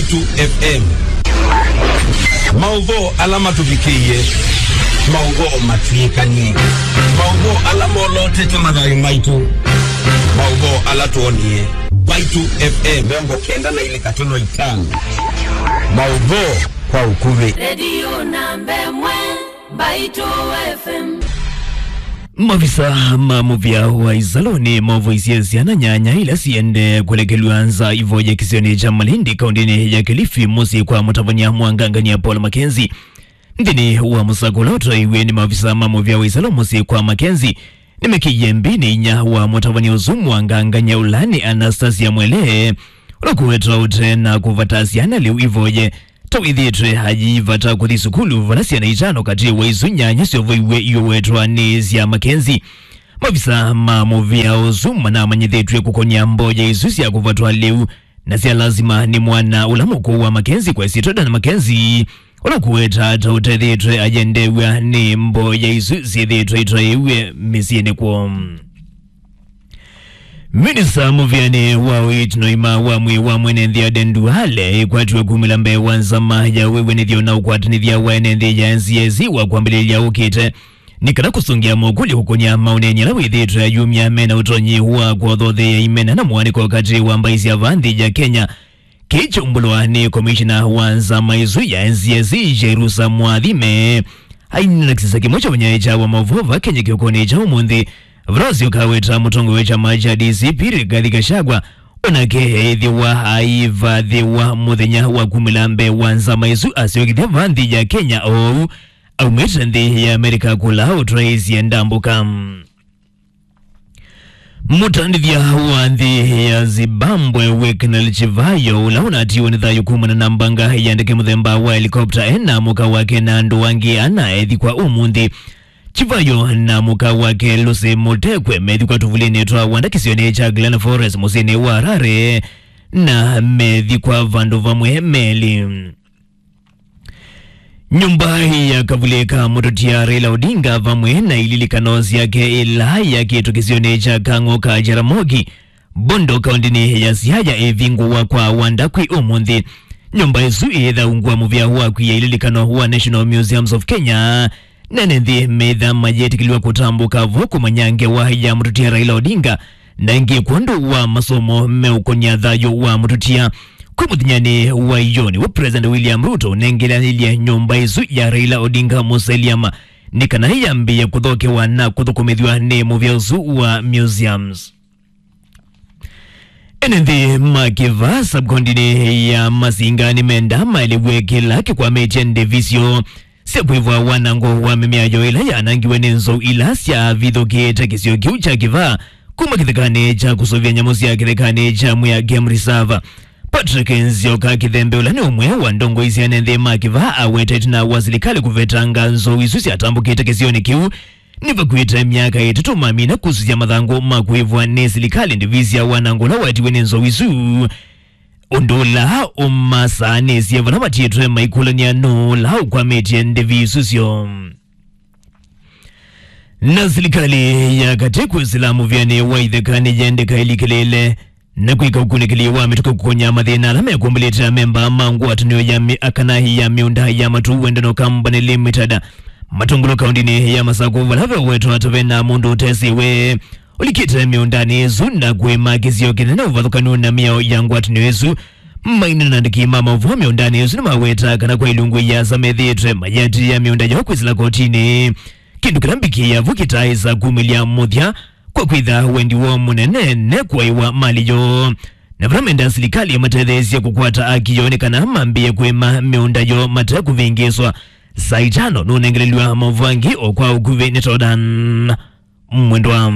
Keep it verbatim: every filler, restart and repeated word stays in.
Mbaitu F M. Maũvoo ala matũvikĩie, maũvoo matw'ĩkanie, maũvoo ala molotete mathayũ maitũ, maũvoo ala twonie. Mbaitu F M mĩongo kenda na ilĩ katono itano. Maũvoo kwa ũkuvĩ. Redio namba ĩmwe, Mbaitu F M. Mavisa ma mũvĩa wa Isalo nĩmavoisye syana nyanya ila siendee kũlekelw'a nza ivoye kĩsionĩ kya Malindi, kaũntĩnĩ ya Kilifi, mũsyĩ kwa mũtavany'a mwangangany'a Paul Mackenzie. Nthĩnĩ wa mũsako ũla ũtwaĩiw'e nĩ mavisa ma mũvĩa wa Isalo mũsyĩ kwa Mackenzie, nĩmekĩie mbinĩ inya wa mũtavany'a ũsu mwangangany'a ũla nĩ Anastasia Mwele, ũla kũwetwa ũte na kũvata syana lĩu ivoye ta wĩthĩĩtwe ayĩivata kũthi sukulu, vala syana itano katĩ wa isu nyanya syovoiw'e iũwetwa nĩ sya Mackenzie. Mavisa ma mũvĩa ũsu manamanyĩthĩtw'e kũkony'a mboya isu sya kũvatwa lĩu na sya lasima nĩ mwana ũla mũkũũ wa Mackenzie kwa ĩsyĩtwa Dan Mackenzie, ũla kũweta ta ũtethĩtwe ayendew'a nĩ mboya isu syĩthĩĩtwe itwaĩw'e mĩsyĩnĩ kwoo. Minista mũvĩanĩ wa ũiiti na ũima wa mwĩĩ wa mwene nthĩ Aden Duale ĩkwatiwe kumĩla mbee wa nzama ya wĩw'anĩthyo na ũkwatanĩthya wa ene nthĩ ya N C S wa kwambĩlĩlya ũkĩte, nĩ kana kũsũngĩa mokũlyo kũkũnya maũneenyi ala wĩthĩĩtwe ayumya mena ũtonyi wa kwothotheea imena na mũanĩko katĩ wa mbaĩ sya vaa nthĩ ya Kenya. Kĩĩ kyaumbũlwa nĩ komishina wa nzama ĩsu ya N C S, Jerusa Mwathime, ainena kĩsisa kĩmwe kya ũnyaĩĩkya wa maũvoo va Kenya kĩokonĩ kya ũmũnthĩ, vala wasyoka aweta mũtongoi wa kyama kya D C P Rigathi Gachagua, onake eĩthĩwa aivathĩwa mũthenya wa kumĩla mbee wa nzama ĩsu asyokethya va nthĩ ya Kenya oou aumĩte nthĩ ya Amerika kũla ũtwaĩĩsye ndambũka. Mũtandĩthya wa nthĩ ya Zimbabwe, Wicknell Chivayo, ũla ũnatiwe nĩ thayũ kumana na mbanga ya ndeke mũthemba wa helikopta, e na mũka wake na andũ angĩ ana ethikwa ũmũnthĩ. Chivayo na mũka wake Lucy Mutekwe methikwa tũvulĩnĩ twa wanda kĩsionĩ kya Glen Forest mũsyĩnĩ wa Harare, na methikwa vandũ vamwe melĩ. Nyũmba ya kavulĩ ka mũtũtia Raila Odinga vamwe na ililikano syake ila yakĩtwe kĩsionĩ kya Kang'o ka Jaramogi, Bondo, kaũntĩnĩ ya Siaya ĩvingũwa kwa wanda kwĩ ũmũnthĩ. Nyũmba ĩsu ĩĩthaũngw'a mũvĩa wa kwia ililikano wa National Museums of Kenya, na ene nthĩ meĩtha mayĩtĩkĩlw'a kũtambũka vo kũmanya ngewa ya mũtũtia Raila Odinga, na ĩngĩ kwondũ wa masomo meũkonya thayũ wa mũtũtia. Kwĩ mũthenyanĩ wa ĩyoo nĩw'o President William Ruto ũnengelanĩlye nyũmba ĩsu ya Raila Odinga Mausoleum nĩ kana yambĩĩe kũthokewa na kũthũkũmĩthw'a nĩ mũvĩa ũsu wa museums. Ene nthĩ ma kĩvaa sub-kaũntĩnĩ ya Masinga nĩmenda maelew'e kĩla kĩkwamĩtye ndĩvi syoo sya kwĩvwa wanango wa mĩmea yoo ĩla yanangiwe nĩ nzou ila syavithũkĩĩte kĩsio kĩu kya kĩvaa kuma kĩthekanĩ kya kũsũvĩa nyamũ sya kĩthekanĩ kya Mwea Game Reserve. Patrick Nzioka Kĩthembe, ũla nĩ ũmwe wa ndongoi sya ene nthĩ ma kĩvaa, awetete na wa silikalĩ kũvetanga nzou isu syatambũkĩte kĩsionĩ kĩu. Nĩvakuĩte myaka ĩtatũ mamina kusũsya mathangũ ma kũĩvwa nĩ silikalĩ ndĩvi sya wanango ũla watiwe nĩ nzou isu, ũndũ ũla ũmasaanĩsye vala matiĩtwe maikũlany'a nũũ ũla ũkwamĩtye ndĩvi isu syoo. Na silikalĩ ya katĩ kwĩsĩla mũvĩanĩ wa itheka nĩyendeka ĩlikĩlĩĩle na kwĩka ũkunĩkĩli wa mĩtũkĩ kũkonya mathĩna ala mekũmbĩlĩte amemba ma ngwatanĩo ya mĩ-, kana ya mĩũnda ya Matu Wendano Company Limited. Matũngũlũ kaũntĩnĩ ya Masakũ, vala vewetwa ata vena mũndũ ũtesĩwe ũlikĩte mĩũndanĩ ĩsu na kũĩma kĩsio kĩnene ũvathũkanu na mĩao ya ngwatanĩo ĩsu. Mainena na andĩki ma maũvoo mĩũndanĩ ĩsu nĩmaweta kana kwa ilungu iasa methĩĩtwe mayatĩĩa mĩũnda yoo kwĩsĩla kotinĩ, kĩndũ kĩla mbikĩ yavu kĩtaaĩsa kumĩlya mũthya kwa kwĩtha wendi woo mũnene nĩ kũaiwa mali yoo. Na vala menda silikalĩ ĩmatetheesye kũkwata aki yoo nĩ kana mambĩĩe kũĩma mĩũnda yoo mate kũvĩngĩĩswa. Saa itano nũnengelelw'a maũvoo angĩ o kwa ũkuvĩ nĩ Jordan Mwendwa.